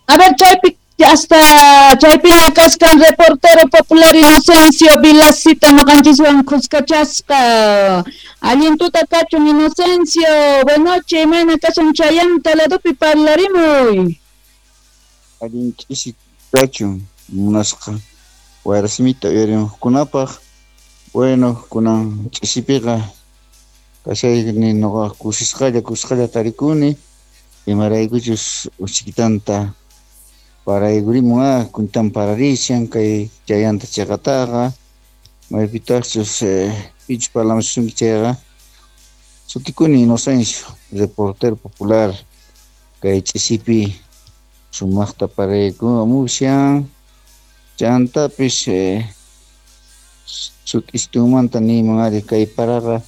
A ver, chaypi hasta chaypiña kaskan reportero popular Inocencio Vilacita noqanchiswan khuskachasqa. Allin tuta kachun Inocencio, buenas noches, imayna kashan chayanta ladopi parlarimuy. Allin ch'isi kachun munasqa wayrasimita uyarimuqkunapaq. Bueno, kunan ch'isipiqa kashayni noqa kusisqalla tarikuni, imaraykuchus uchikitanta paraykurimun kuntan pararishan kay chayanta chaqataqa maypitaqchus pichus parlamusunki chayqa sutikuni Inocencio, reportero popular kay ch'isipi sumaqta paraykumushan chantapis sut'istunmanta niyman ari kay paraqa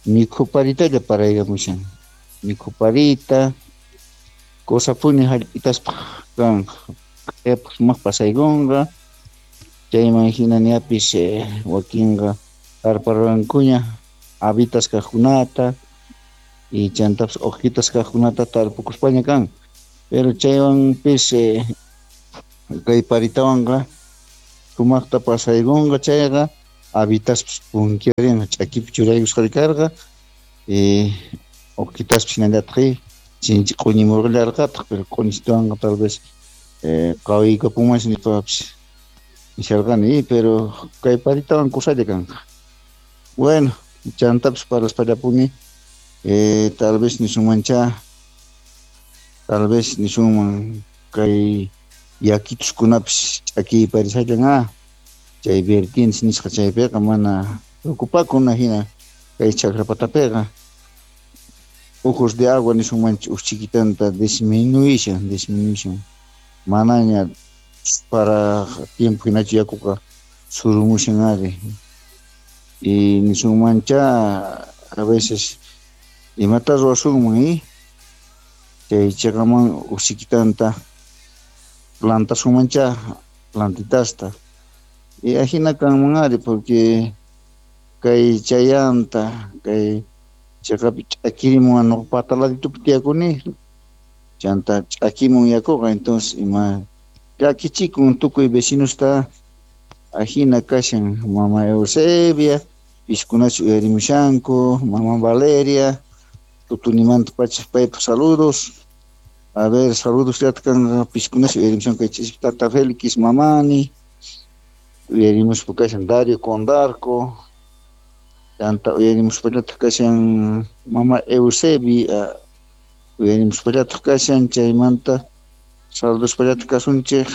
mikhuparitalla paraykamushan mikhuparita cosapuni hallp'itaspaq kanqa q'ayapaq sumaq pasaykunqa chayman hina ñapis wakinqa tarparqankuña habitas kaqkunata y chantapis hojitas kaqkunata tarpukuspaña kan pero chaywanpis kay paritawanqa sumaqta pasaykunqa chayqa habitaspis punkiarinqa ch'akipi churaykusqari karqa y hojitaspi hinallataq chinchi q'uñimurqallarqataq pero q'uñistuwanqa tal vez qawiykapunmansi nispapis nisharqani pero kay paritawan kusalla kanqa. Bueno, chantapis parlaspallapuni tal vez nisunmancha tal vez nisunman kay yakituskunapis ch'akiy parisallan chay vertientes nisqa chaypiqa mana preocupakuna hina kay chakrapatapiqa ojos de agua nisunmancha uj chiquitanta disminuishan manaña para tiempo hinachu yakuqa surumushan ari y nisunmancha a veces imata ruwasunman chay chaqaman uj chiquitanta plantasunmancha plantitasta y ajina kanman ari porque kay chayanta kay chaqapi ch'akirimun nuqa pataladitupi tiyakuni chanta ch'akimun yakuqa entonces ima llakichikun tukuy vecinosta ajina kashan mama Eusebia piskunachu uyarimushanku mama Valeria tutunimanta pacha paypaq saludos a ver saludos llata kanqa piskunachu uyarimushanku kay ch'isipi tata Félix mamani uyarimuspa kashan Dario Condarco chanta uyarimuspallataq kashan mama Eusebia uyarimuspallataq kashan chaymanta saludospallataq kasunchik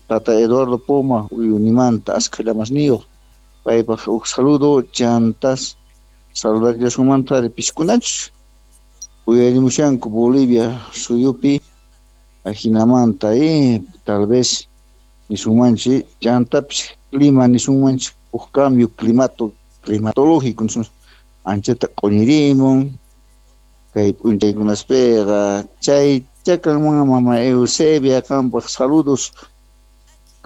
tata Eduardo Poma uyunimanta askha llamasniyuq paypaq huk saludo chantas saludallasunmanta ari piskunachus uyarimushanku Bolivia suyupi ajinamanta tal vez nisunmanchik chantapis clima nisunmanchik huk cambio climatológico anchata q'uñirimun kay p'unchaykunaspiqa chay chakanman mama Eusebia qampaq saludos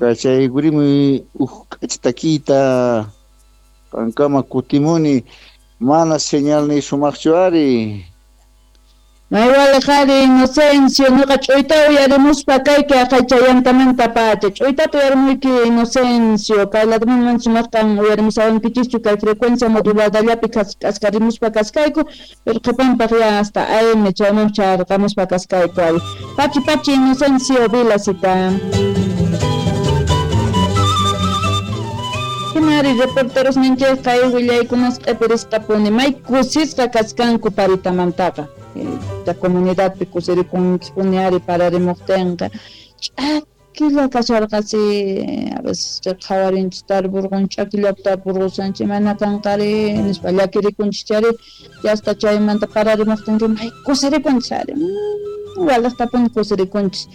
kachaykurimuy huk k'achitakita qankama kutimuni mana señalniy sumaqchu ari. Maywaliqari Inocencio, nuqa ch'uyta uyarimuspa kayki aqay chayantamanta pacha ch'uytata uyarimuyki Inocencio kay ladoman sumaqtan uyarimusawankichischu kay frecuencia moduladallapi k'askarimuspa kaskayku pero qhipanpaq ya hasta AM chayman charqamuspa kaskayku ari pachi pachi Inocencio Vilacita. Hinari reporteros ninchik kay willaykunas q'ipirisqapuni may kusisqa kaskanku paritamantaqa la comunidadpi kusirikunkispuni ari pararimuqtinqa ch'akilla kasharqasi a veces qhawarinchik tarpurqun ch'akillapi tarpurqusanchik mana kanqari nispa llakirikunchik chari hasta chaymanta pararimuqtinqa may kusirikunchik ari waliqtapuni kusirikunchik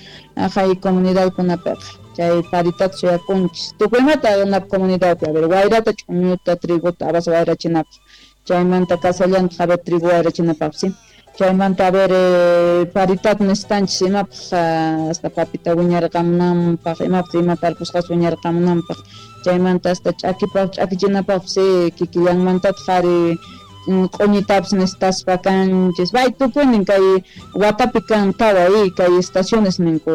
aqhay comunidadkunapiqa chay paritata suyakunchik tukuymata comunidadpi a ver wayrata ch'uñuta trigota habas wayrachinapaq chaymanta kasallantaq a ver trigo wayrachinapaqsi chaymanta a ver paritat necesitanchis imapaq hasta papita wiñarqamunanpaq imapaq ima tarpusqas wiñarqamunanpaq chaymanta hasta ch'akipaq ch'akichinapaqpis kikillanmantataq ari Q'uñitapis necesitaspa kanchis. Bay tukuynin kay watapi kan tawa kay estaciones ninku.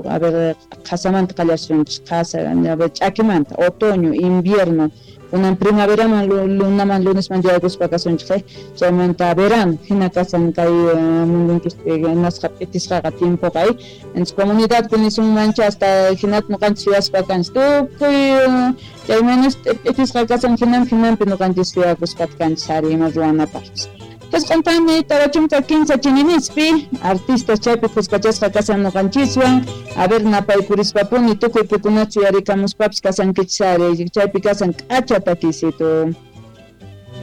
A ver, qhasamanta qallarisunchis, qhasa, a ver, ch'akimanta, otoño, invierno, kunan primaveraman, lunaman, lunesman yaykuspa kasunchik, chaymanta verano, hina kasan kay mundunchispi nasqa p'itisqaqa tiempoqa. Entonces comunidadpi nisunmancha hasta hinata ñuqanchis suyaspa kanchis tukuy chay menos p'itisqa kasan hinampi hinampi ñuqanchis suyakuspa kanchis ari ima ruwanapaqpis. 9 40 chininispi artistas chaypi khuskachasqa kasan ñuqanchiswan. A ver, napaykurispa tukuy pikunachu yarikamuspapis kasankichis ari chaypi kasan k'acha takisito.